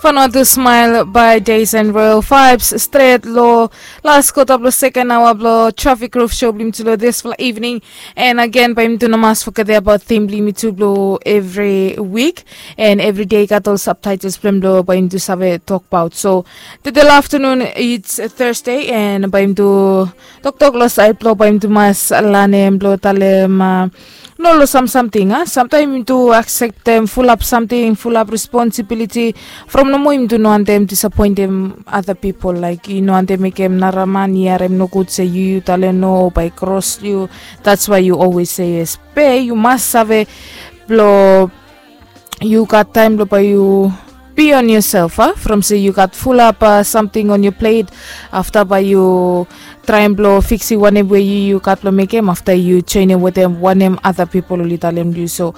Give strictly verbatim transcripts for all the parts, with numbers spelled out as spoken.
Vanuatu Smile by Days and Royal Vibes stret long las kota blong second hour blong Traffic Roof Show blong yumi tu long dispela evening. And again, bae yumi tu no mas foget about theme blong yumi tu blong every week. And every day gat ol subtitles blong bae yumi tu save tok about. So today afternoon it's Thursday and bae yumi tu toktok long sait blong bae yumi tu mas lanem blong talem uh, no long sam samting a samtaim yumi tu akseptem fulap samting, fulap responsibiliti from nomo yumi tu no wantem disapoentem other people, laik yu no wantem mekem nara man i harem nogud se yu yu talem no o bae kros yu. That's why yu always say yes be yu mas save blong yu gat taim blong bae yu be on yourself a from se yu gat fulap uh, samting on your plate. Afta bae yu traim blong fiksi wanem we yu yu gat long mekem afta yu joinim wetem wanem other people oli talem yu. So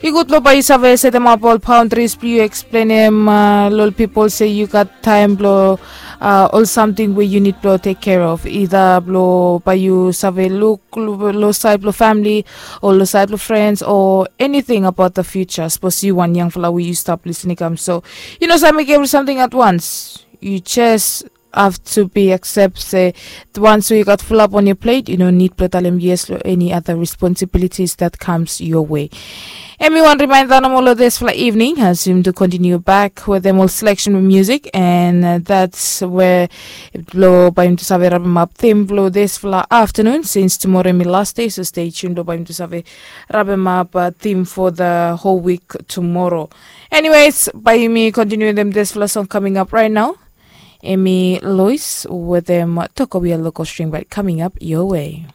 i gud long bae yu save setemap ol boundaries blong yu eksplenem uh, long ol people se yu gat taim blong uh, ol samting we yu nid blong tek care of, either blong bae yu save luk long side blong family o long side blong friends o anything about the future. Suppose yu wan yangfala we yu stap listening kam so yu no save mekem every something at once. You just have to be accept se once you got full up on your plate, you no need blong talem yes long any other responsibilities that comes your way. Em i wan reminder nomo long dispela evening as yumi tu continue back with them all selection with music and uh, that's where blong bae yumi tu save rabemap theme blong dispela afternoon since tomorrow em i last day, so stay tuned blong bae yumi tu save rabemap uh, theme for the whole week tomorrow. Anyways, bae yumi continue them dispela song coming up right now. Emi Lois with them Tokowia Local String Band coming up your way.